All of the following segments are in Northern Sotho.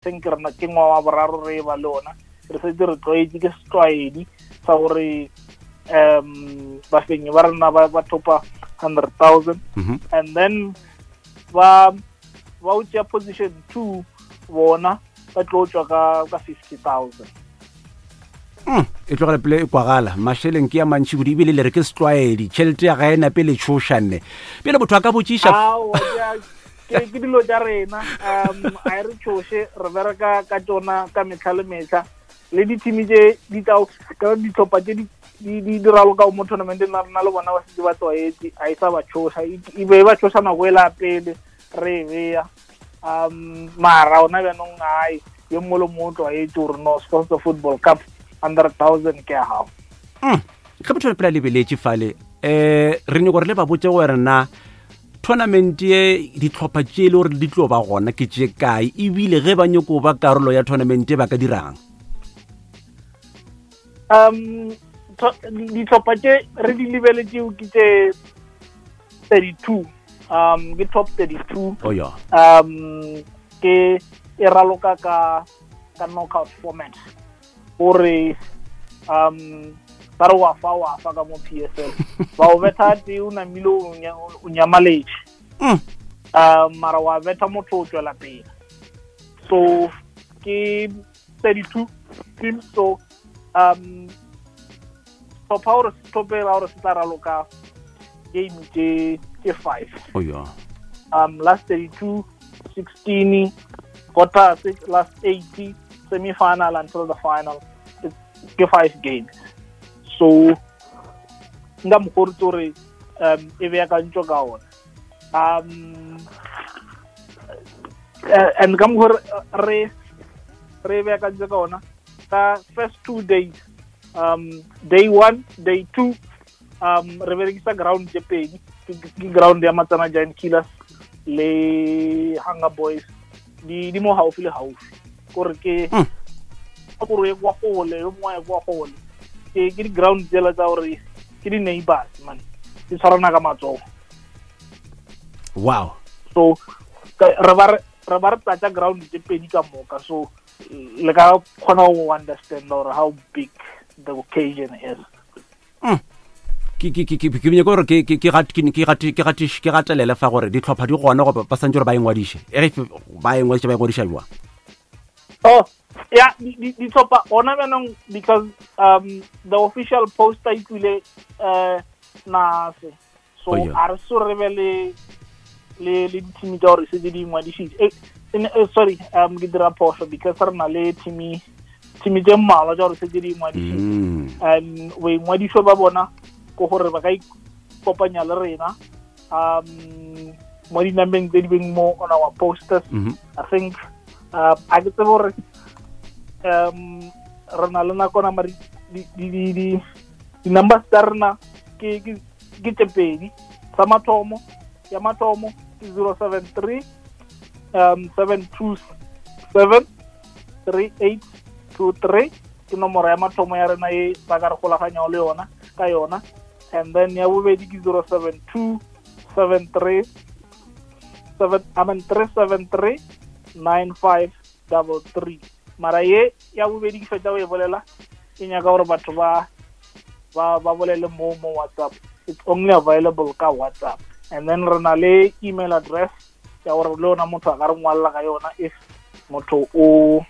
Think rena ke ngwa wa boraro re ba le ona, re setse re tlwaetse, ke setlwaedi sa gore bafenyi ba rena ba thopa 100,000. And then ba o tšea position 2, bona ba tlo tswa ka 50,000. E tlogela pele e kwagala mašeleng ke ya mantši kudu, ebile le re ke setlwaedi, tšhelete ya ga e nape le tšhošanne pele motho a ka botšiša. Ke dilo tša rena, a e re tšhoše, re bereka ka tšona ka metlha le metlha, le dithimi tše di tla ka ditlhopha tše di raloka mo tournamenteng na rena le bona ba setse ba tlwaetse, a e sa ba tšhoša, e be e ba tšhoša nako e la pele re e beya, mara ona bjanong ai yo mongwe le mongwe o tlwaetse gore no Sekgosese Football Cup 100,000 ke ya gago. Ge motho pele a lebeletše fale, re nyako gore le ba botse gore na tournament ye ditlhopha tše e le gore di tlo ba gona ke tše kae, ebile ge ba nyako ba karolo ya tournament ba ka dirang? Ditlhopha tše re di lebeletšeo ke tše 32, ke top 32. Oh, yeah. Ke e raloka ka knockout format, gore ba re wa fa ka mo PSL ba o betha tee, o namile o nyamaletše. Mara wa betha motho o tswela pele, so ke 32 teams. So tlhopha gore se tlhopela gore se tla raloka game tše 5. Oh, yeah. Last 32, 16, quarter six, last 80, semi-final until the final. It's ke 5 games. So nka mokgwa gore e beakantšwe ka ona. And ka mokgwa re beakantšwe ka ona ka first 2 days, day 1, day 2, re berekisa ground tše pedi, ke ground ya Matsana Giant Killers le Hunger Boys, di mo gaufi le gaufi, kore ke gore ye kwa gole, yo mongwe ya kwa gole, ke di-ground tsela tsa gore ke di-neighbors man, di tshwarana ka matsogo. Wow. So re ba re tlatsa ground tse pedi ka moka, so le ka kgona go understand gore how big the occasion is. Ke nyaka gore ke gatelele fa gore ditlhopha di gona goba ba santse gore ba ingwadiše, e ge ba ingwadiša, ba ingwadiša jwang? Oh yeah, ditlhopha gona bjanong, because the official poster e tlile nase, so a re so re be le dithimi tsa gore setse di ingwadišitše. Sorry, ke dira phoso because re na le thimi tse mmalwa tsa gore setse di ingwadišitše. Boingwadišo ba bona ke gore ba ka ikopanya le rena mo dinambeng tse di beng mo on our posters. I think a ke tsebe gore re na le nakona, mare di-numbers tsa rena ke tse pedi. Sa mathomo, ya mathomo ke 073 727 3823, ke nomoro ya mathomo ya rena e ba ka re golaganyago le yona ka yona. And then ya bobedi ke 072 73 7, I mean 373 9533. Mara ye ya bobedi ke fetsa go e bolela, ke nyaka gore batho ba bolele mo WhatsApp. It's only available ka WhatsApp. And then re na le email address ya gore le yona motho a ka re ngwalela ka yona if motho o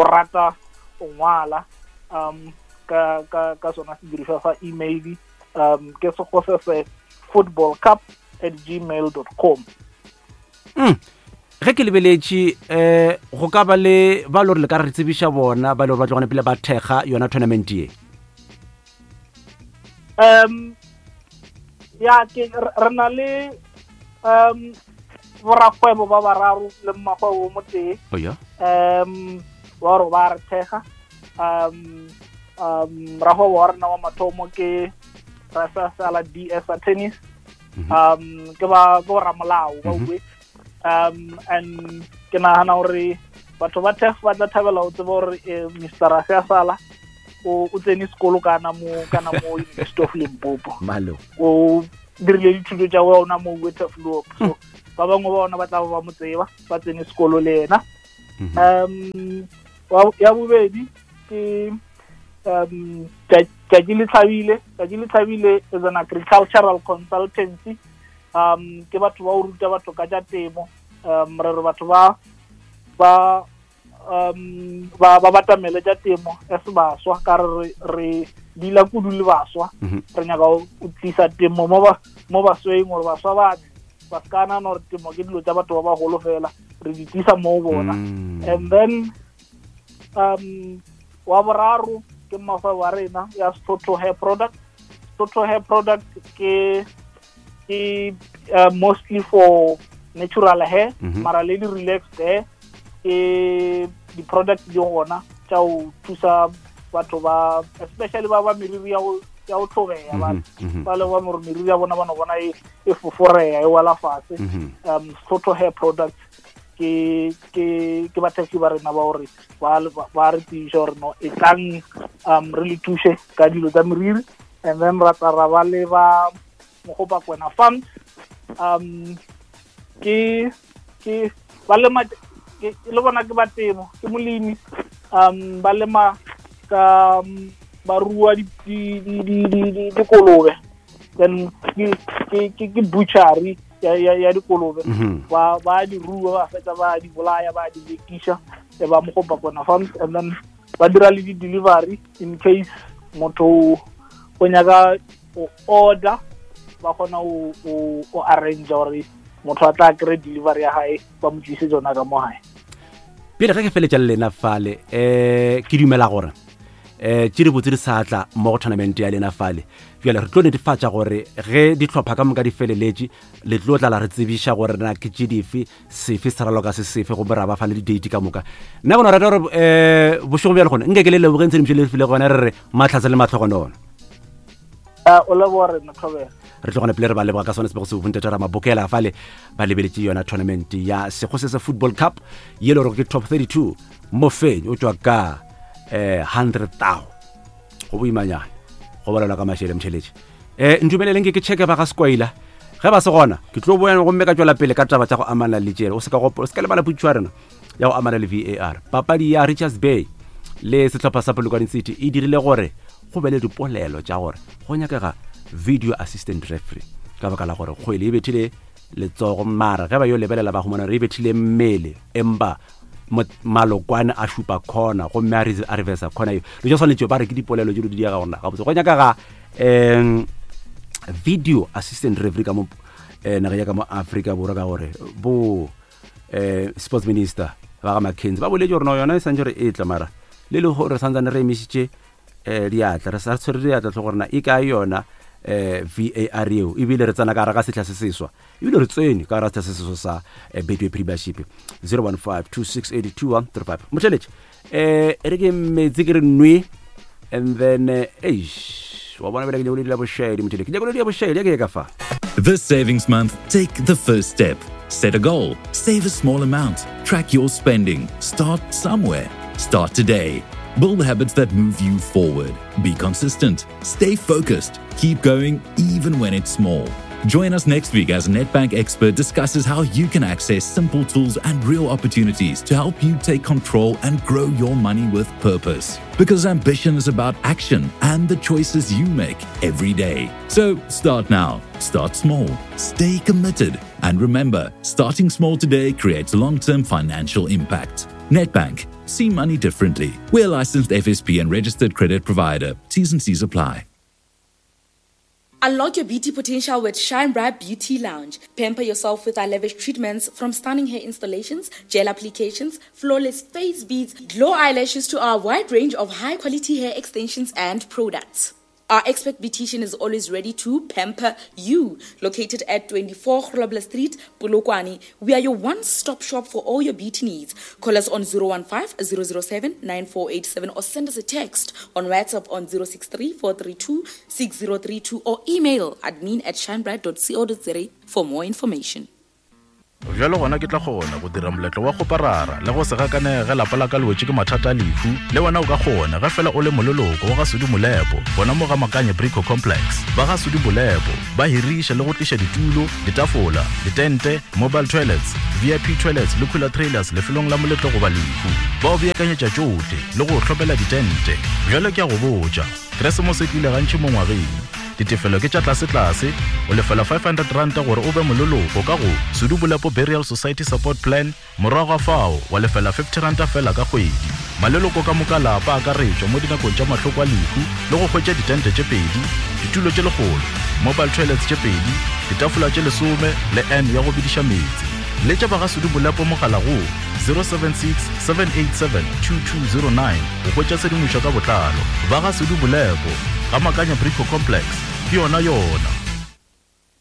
rata o ngwala ka sona sedirišwa sa email, ke sekgosese football cup at gmail.com. Ge ke lebeletše, go ka ba le ba le gore le ka re tsebiša bona ba le gore ba tlogane pele ba thekga yona tournament ye? Ya, ke re na le borakgwebo ba bararo le mmakgwebo mo tee. Oh, yeah. Ba gore ba re thekga. Rakgwebo wa rena wa mathomo ke Rasasala DS Attorneys. Ke ba ke boramolao ba bue. And ke nagana gore batho ba thekg ba tla thabela go tseba gore Mr. Rasasala o tsene sekolo kana mo University of Limpopo. Malo. O dirile dithuto tša ona mo Waterflow. So ba bangwe ba bona ba tla ba mo tseba, ba tsene sekolo le yena. Um ya bobedi ke um Tšatši le Tlhabile. Tšatši le Tlhabile is an agricultural consultancy. Um ke batho ba o ruta batho ka tša temo. Um re re batho ba ba um ba ba batamele tša temo as baswa ka re re dila kudu le baswa. Re nyaka o tlisa temo mo ba mo basweng gore baswa ba ba se ka nagana gore temo ke dilo tša batho ba bagolo fela, re di tlisa mo bona. And then um wa boraro ke mmagwebo wa rena ya Sotho Hair Product. Sotho Hair Product ke ke mostly for natural hair, mara le di relaxed hair ke di product di gona tša go thusa batho ba especially ba ba meriri ya go ya go tlhobeya ba ba le ba gore meriri ya bona ba no bona e e foforeya e wela fase. Sotho Hair Product ke ke ke bathekgi ba rena ba gore ba ba re tiiša gore no e tlang um re le thuše ka dilo tsa meriri. And then ra tla ra ba le ba Mogopa Kwena Farms. Um ke ke ba lema ke le bona ke ba temo, ke molemi. Um ba lema ka ba rua di di di di di dikolobe, then ke ke ke ke butchery ya ya ya dikolobe. Ba ba di rua, ba fetsa ba di bolaya, ba di rekiša e ba Mogopa Kwena Farms. And then ba dira le di delivery in case motho o nyaka o order, ba kgona o o arrange gore motho a tla kry delivery ya gae, ba mo tlise tsona ka mo gae. Pele ge ke feletša le lena fale, um ke dumela gore um tše di botse di sa tla mo go tournament ya lena fale. Bjale re tlo netefatša gore ge dihlopha ka moka di feleletše, le tlo tla la re tsebiša gore na ke tše dife, sefe se raloka se sefe, gomme ra ba fa le di-date ka moka. Nna ke no rata gore um bošego bjale gone nke ke le lebogeng tshedimošo le file gona, re re matlhatse le matlhogonono. O leboga rena, thobela. Re tlo gona pele re ba leboga ka sone sebego se bontata ra mabokela fale ba lebeletše yona tournament ya Sekgosese Football Cup ye le gore ke top 32, mofenyi o tšwa ka um 100 tao go boimanyana go bolelwa ka mašele motšheletše. Um ntumeleleng ke ke checke ba ga Sekwaila, ge ba se gona ke tlo boya gomme ka tšwela pele ka taba tša go amana le tšele. O se ka gopola, o se ka lebala potšišo ya rena ya go amana le VAR. Papadi ya Richards Bay le sehlopha sa Polokwane City e dirile gore go be le dipolelo tša gore go nyakega video assistant referee ka baka la gore kgwele e bethile letsogo, mara ge ba yo lebelela ba humana gore e bethile mmele, empa malokwane a šupa corner gomme a a reversa corner eo. Lo tša swanetše ba re ke dipolelo tše di diega gona gabotse go nyakega um video assistant referee ka mo eh, nageng ya ka mo Afrika Borwa, ka gore bo eh sports minister ba ga McKenzie ba boletse gore no yona e santse re e tla, mara le le gore santsane re emišitše eh diatla, re sa tshwere diatla tlho gore na e kae yona eh VAR eo. Ebile re tsena ka gare ga setlha se seswa, ebile re tsene ka gare ga setlha se seswa sa eh, Betway Premiership. 015 2682135 motheletše eh e re ke metsi ke re nwe, and then eh, eish wa bona bele ke nyako le dila bošaedi motheletše, ke nyako le dila bošaedi ya ke ye ka fa. This savings month, take the first step. Set a goal, save a small amount, track your spending, start somewhere. Start today. Build habits that move you forward. Be consistent, stay focused, keep going even when it's small. Join us next week as Nedbank expert discusses how you can access simple tools and real opportunities to help you take control and grow your money with purpose. Because ambition is about action and the choices you make every day. So start now, start small, stay committed, and remember, starting small today creates long term financial impact. Nedbank, see money differently. We're licensed FSP and registered credit provider. T's and C's apply. Unlock your beauty potential with Shine Bright Beauty Lounge. Pamper yourself with our lavish treatments, from stunning hair installations, gel applications, flawless face beads, glow eyelashes to our wide range of high quality hair extensions and products. Our expert beautician is always ready to pamper you. Located at 24 Grobler Street, Polokwane, we are your one-stop shop for all your beauty needs. Call us on 015 007 9487 or send us a text on WhatsApp on 063 432 6032 or email admin at shinebright.co.za for more information. Bjalo gona ke tla kgona go dira moletlo wa kgoparara le go se gakanege ge lapa la ka le wetše ke mathata a lehu. Le wena o ka kgona ge fela o le moleloko wa ga Sudi Molepo gona mo ga Makanye Brico Complex. Ba ga Sudi Molepo ba hiriša le go tliša ditulo, ditafola, ditente, mobile toilets, VIP toilets le cooler trailers lefelong la moletlo goba lehu. Ba o beakanyetša tšohle le go o hlomela ditente. Bjalo ke a go botša, Keresemose e tlile gantši mo ngwageng. Ditefelo ke tša tlasetlase, o lefela R500 gore o be moleloko ka go Sudu Bolepo Burial Society Support Plan, morago ga fao wa lefela R50 feela ka kgwedi. Maleloko ka moka lapa a akaretšwa mo dinakong tša mahloko a lehu le go hwetša ditente tše pedi, ditulo tše lekgolo, mobile toilets tše pedi, ditafola tše lesome le urn ya go bediša meetse. Letša ba ga Sudu Bolepo mogala go 076 787 2209 go hwetša tshedimošo ka botlalo. Ba ga Sudu Bolepo, Ga Makanya Brico Complex, ke yona yona.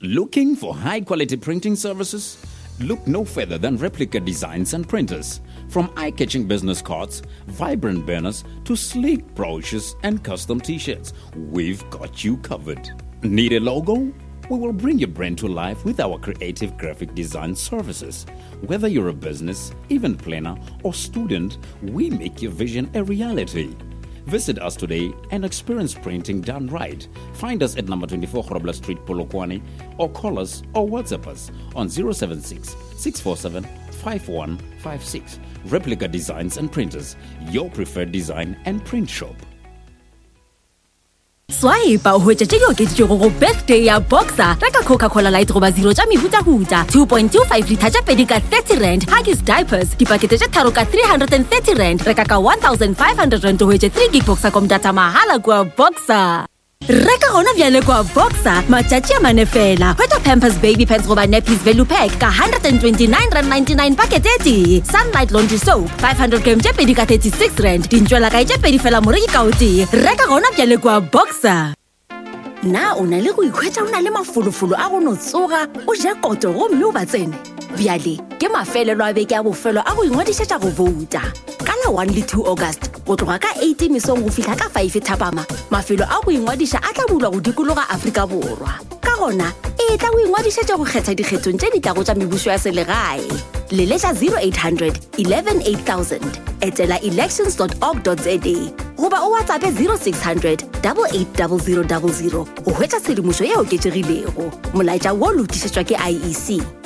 Looking for high quality printing services? Look no further than Replica Designs and Printers. From eye catching business cards, vibrant banners, to sleek brochures and custom t shirts, we've got you covered. Need a logo? We will bring your brand to life with our creative graphic design services. Whether you're a business, event planner, or student, we make your vision a reality. Visit us today and experience printing done right. Find us at number 24 Grobler Street, Polokwane, or call us or WhatsApp us on 076 647 5156. Replica Designs and Printers, your preferred design and print shop. Swipe o hwetša tše di okeditšwego go birthday ya Boxer. Reka Coca-Cola Light goba Zero tša mehutahuta 2.25 litha tša pedi ka 30 rand, Huggies diapers dipakete tše tharo ka 330 rand. Reka ka 1500 rand o hwetše 3 gig Boxercom data mahala kua Boxer. Reka gona bjale kua Boxer matšatši a mane fela. Hwetša Pampers baby pants goba nappies value pack ka 129 rand 99 pakete e tee. Sunlight laundry soap 500 gram tše pedi ka 36 rand. Dintšwelakae tše pedi fela moreki ka o tee. Reka gona bjale kua Boxer. Na o na le go ikhwetša o na le mafolofolo a go no tsoga o je koto gomme o ba tsene? Bjale ke mafelelo a beke a bofelo a go ingwadišetša go bouta. Ka la 1 le 2 August go tloga ka 8 mesong go fihla ka 5 thapama, mafelo a go ingwadiša a tla bulwa go dikologa Afrika Borwa. Ka gona, etla o ingwadišetše go kgetha dikgethong tše di tlago tša mebušo ya selegae. Leletša 0800 11 8000, etela elections.org.za goba o WhatsAppe 0600 880000 go hwetša tshedimošo e oketšegilego. Molaetša wo lokišetšwa ke IEC.